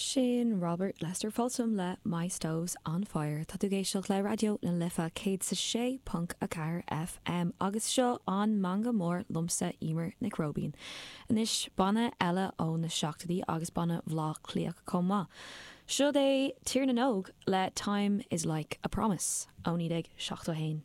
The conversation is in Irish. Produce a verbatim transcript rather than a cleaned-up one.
Sin Robert Lester Folsom le My Stove's on Fire Tá tú ag éisteacht le Raidió na Life céad sa sé ponc a ceathair FM agus seo an Meangadh Mór liomsa Emer Nic Róibín. Anois banna eile ó na seachtóidí agus banna Bhaile Átha Cliath chomh maith. Seo é Tír na nÓg le Time is like a Promise ó naoi déag seachtó haon.